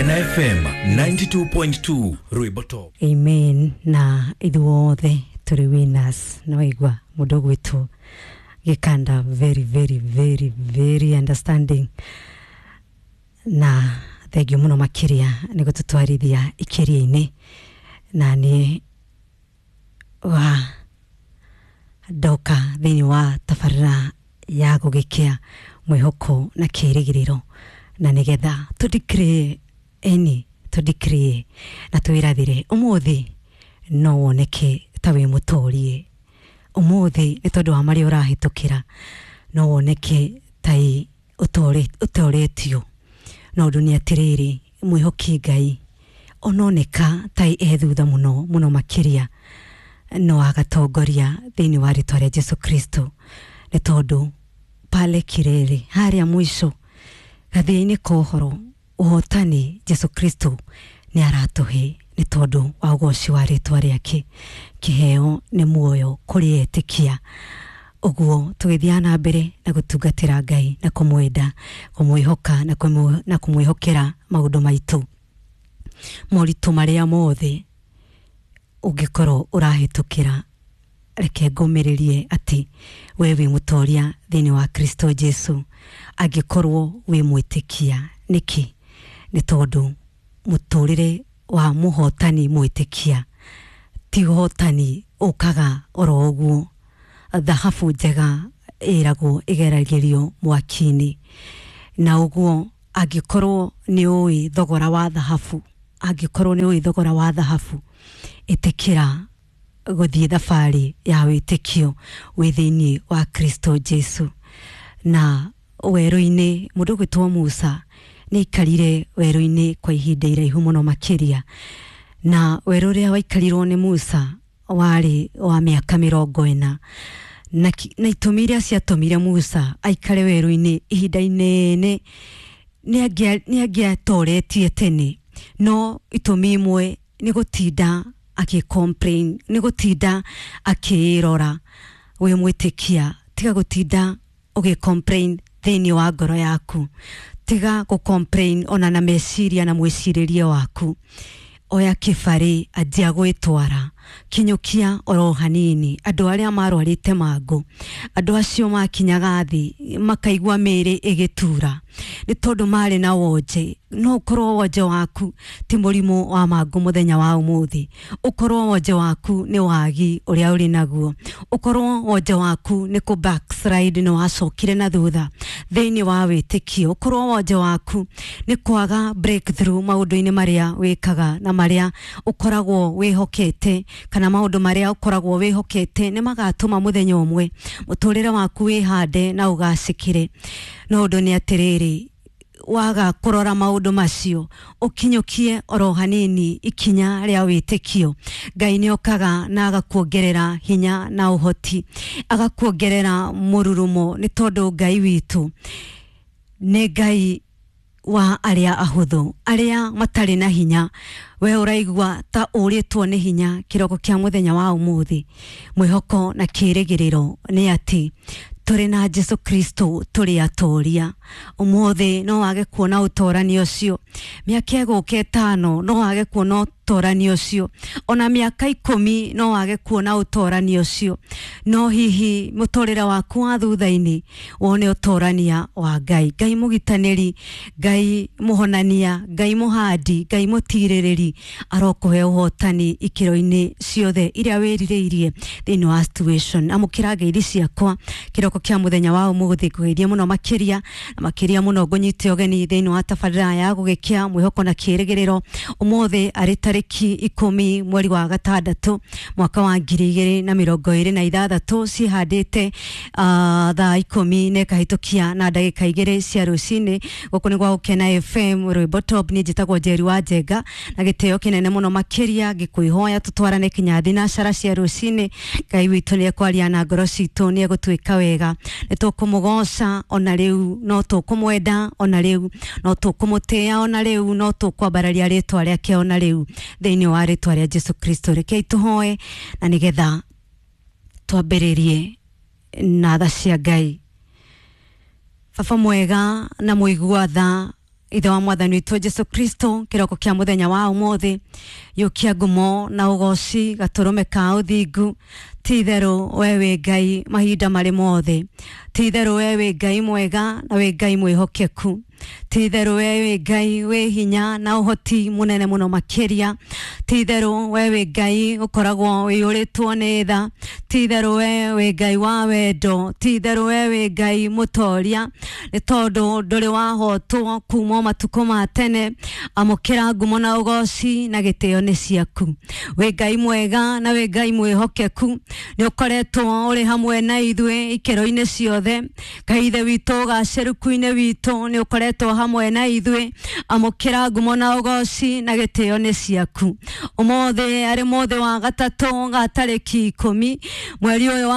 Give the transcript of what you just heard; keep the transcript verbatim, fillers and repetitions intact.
Gukena F M ninety-two point two Rwimbo Top. Amen. Na ithuothe tũrĩ winners. Na waigua mũndũ gwitũ Gikanda, very very very very understanding, na thengiũ mũno makĩria nĩ gũtũtwarithia ikiria-inĩ. Na nĩ wa ndoka thĩinĩ wa tabarĩra ya gũgĩkĩa mwĩhoko na kĩĩrĩgĩrĩro, na nĩgetha tũdeclare eni tũdeclare na twĩrathire ũmũthĩ no woneke ta wĩ mũtorie. Ũmũthĩ nĩ tondũ wa marĩa ũrahĩtũkĩra no woneke ta ũtoretio, no ũndũ nĩ atĩrĩrĩ, mwĩhoki Ngai ononeka ta e thutha mũno mũno makĩria, no agatongoria thĩinĩ wa rĩtwa rĩa Jesu Kristo, nĩ tondũ pale kirere harĩa mũico gathĩa-inĩ ka ũhoro ũhotani Jesu Kristo nĩ aratũhe, nĩ tondũ wa ũgoci wa rĩtwa rĩake. Kĩheo nĩ muoyo kũrĩ etĩkia. Ũguo tũgĩthiaga na mbere na gũtungatĩra Ngai na kũmwenda, kũmwĩhoka na kũmwĩhokera maũndũ maitũ, moritũ marĩa mothe ũngĩkorwo ũrahĩtũkĩra. Reke ngũmĩrĩrie atĩ we wĩ mũtoria thĩinĩ wa Kristo Jesu angĩkorwo wĩ mwĩtĩkia. Nĩkĩ? Nĩ tondũ mũtũrĩre wa mũhotani mwĩtĩkia ti ũhotani ũkaga oro ũguo. Thahabu njega ĩragwo ĩgeragĩrio mwaki-inĩ, na ũguo angĩkorwo nĩ ũĩ thogora wa thahabu, angĩkorwo nĩ ũĩ thogora wa thahabu, ĩtĩkĩra gũthiĩ thabarĩ ya wĩtĩkio wĩ thĩinĩ wa Kristo Jesu. Na werũ-inĩ mũndũ gwĩtwo Musa nĩ aikarire werũ-inĩ kwa ihinda iraihu mũno makĩria, na werũ ũrĩa waikarirwo nĩ Musa warĩ wa mĩaka mĩrongo ĩna, na, na itũmi iria ciatũmire Musa aikare werũ-inĩ ihinda inene nĩ angĩatoretie tene, no itũmi imwe nĩ gũtinda akĩ-complain, nĩ gũtinda akĩĩrora. Wĩ mwĩtĩkia, tiga gũtinda ũgĩ-complain thĩinĩ wa ngoro yaku, tiga gũ-complain ona na meciria na mwĩcirĩrie waku. Oya kĩbarĩ, anjia gwĩtwara, kinyũkia oro hanini. Andũ arĩa marwarĩte mangũ, andũ acio makinyaga thĩ makaigua mĩĩrĩ ĩgĩtura nĩ tondũ marĩ na wonje. No ũkorwo wonje waku ti mũrimũ wa mangũ mũthenya wa ũmũthĩ, ũkorwo wonje waku nĩ wagi ũrĩa ũrĩ naguo, ũkorwo wonje waku nĩ kũ backslide, nĩ wacokire na thutha thĩinĩ wa wĩtĩkio, ũkorwo wonje waku nĩ kwaga breakthrough maũndũ-inĩ marĩa wĩkaga na marĩa ũkoragwo wĩhokete, kana maũndũ marĩa ũkoragwo wĩhokete nĩ magatũma mũthenya ũmwe mũtũrĩre waku wĩhande na ũgacĩkĩre. No ũndũ nĩ atĩrĩrĩ, waga kũrora maũndũ macio, ũkinyũkie oro hanini ikinya rĩa wĩtĩkio, Ngai nĩ okaga na agakuongerera hinya na ũhoti, agakuongerera mũrurumo, nĩ tondũ Ngai witũ nĩ Ngai wa arĩa ahũthũ, arĩa matarĩ na hinya. We ũraigua ta ũrĩtwo nĩ hinya kĩroko kĩa mũthenya wa ũmũthĩ, mwĩhoko na kĩĩrĩgĩrĩro nĩ atĩ tũrĩ na Jesu Kristo tũrĩ atoria. Ũmũthĩ no wage kuona ũtorani ũcio, mĩaka ĩgũka ĩtano no wage kuona ũtorani ũcio, ona mĩaka ikũmi no wage kuona ũtorani ũcio, no hihi mũtũrĩre waku wa thutha-inĩ wone ũtorania wa Ngai. Ngai mũgitanĩri, Ngai mũhonania, Ngai mũhandi, Ngai mũtirĩrĩri arokũhe ũhotani ikĩro-inĩ ciothe iria wĩrirĩirie thĩinĩ wa situation. Amũkĩra ngeithi ciakwa kĩroko kĩa mũthenya wa ũmũthĩ, ngũgeithie mũno makĩria na makĩria mũno ngũnyite ũgeni thĩinĩ wa tabarĩra ya gũgĩkĩa mwĩhoko na kĩĩrĩgĩrĩro. Ũmũthĩ arĩ tarĩki ikũmi mweri wa gatandatũ mwaka wa ngiri igĩrĩ na mĩrongo ĩrĩ na ithathatũ, cihandĩte uh, thaa ikũmi na ĩkahĩtũkia na ndagĩka igĩrĩ cia rũcinĩ. Gũkũ nĩ gwa Gũkena F M Rwimbo Top. Niĩ njĩtagwo Njeri wa Njenga, na gĩtĩo kĩnene mũno makĩria ngĩkwĩhoya tũtwarane kinya thinacara cia rũcinĩ. Ngai witũ nĩ ekwaria na ngoro citũ, nĩ egũtwĩka wega, nĩ tũkũmũgoca ona rĩu, no tũkũmwenda ona rĩu, no tũkũmũtĩĩa ona rĩu, no tũkwambararia rĩtwa rĩake ona rĩu thĩinĩ wa rĩtwa rĩa Jesu Kristo. Rekei tũhoe na nĩgetha twambĩrĩrie na tha cia Ngai. Baba mwega na mũigua tha, Ithe wa mwathani witũ Jesu Kristo, kĩroko kĩa mũthenya wa ũmũthĩ, yũkia ngumo na ũgoci gatũrũme ka ũthingu. Ti itherũ we wĩ Ngai mahinda marĩ mothe, ti itherũ we wĩ Ngai mwega na wĩ Ngai mwĩhokeku, ti itherũ we wĩ Ngai wĩ hinya na ũhoti mũnene mũno makĩria, ti itherũ we wĩ Ngai ũkoragwo ũiyũrĩtwo nĩ tha, ti itherũ we wĩ Ngai wa wendo, ti itherũ we wĩ Ngai mũtoria, nĩ tondũ ndũrĩ wahotwo kuma matukũ ma tene. Amũkĩra ngumo na ũgoci na gĩtĩo nĩ ciaku. Wĩ Ngai mwega na wĩ Ngai mwĩhokeku, nĩ ũkoretwo ũrĩ hamwe na ithuĩ ikĩro-inĩ ciothe. Ngai Ithe witũ ũgacĩrũku-inĩ witũ nĩ ũkoretwo hamwe na ithuĩ. Amũkĩra ngumo na ũgoci na gĩtĩo nĩ ciaku. Ũmũthĩ arĩ mũthĩ wa gatatũ ga tarĩki ikũmi mweri ũyũ wa